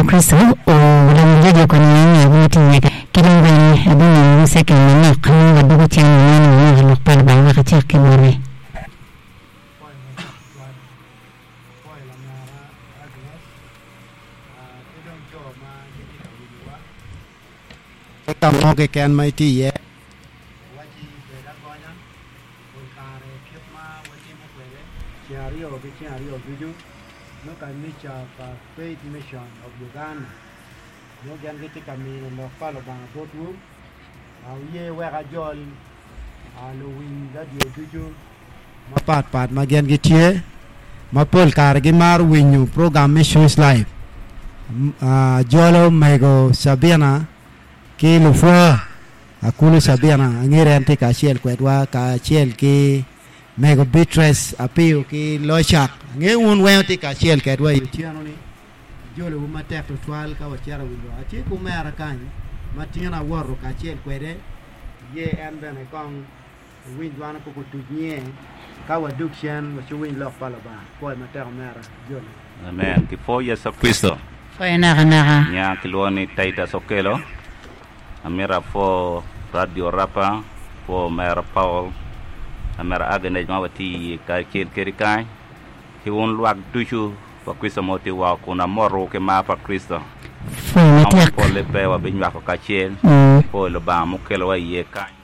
Kricito olonyo jojo konyo wa inge ma tye iye ki dong bene abimiyowu cekel manok nongo wadwogo cen waneno wanywako lok pa Lubanga wek acak ki boti. Ki ka mo keken ma itye iye, wacci bed agonya pol kare kit ma watimo kwede ceng aryo ki ceng aryo ducu nongo kanica pa Faith Mission of Uganda nongo gin gitye ka mino lok pa Lubanga botwu. Wuye wek ajol luwiny radio ducu mapat pat ma gin gitye ma pol kare gimaro winyo program me Choice Live. Ajolo mego Sabina ki lupwa Akulu Sabina angeri en tye kacel kwedwa kacel ki mego Beatrice Apiyo ki Locak. Angeyo wun weng wutye kacel kedwa i otyeno-ni. Ajolowu matek tutwal ka wacito i wi lwak. Atye ki omera kany ma tin awoto kacel kwede. Ye en bene kong owiny dwana koko otuc nyinge ka wadug cen waciwiny lok pa Lubanga. Pwoyo matek omera. Ajoli. Amen. Kipwo Yecu Kricito. Pwoyo nakanaka. Nya kilwongo ni Titus Okello. Amito apwo Radio Rapa, apwo omera Paul, omera Agnes ma watye iye kacel kwedi kany, ki wun lwak ducu pa Kricito ma wutye woko kun amotowu ki mar pa Kricito. Pwoyo Romo matek. polle pe wabinywako kacel, pwoyo Lubanga mukelowa iye kany.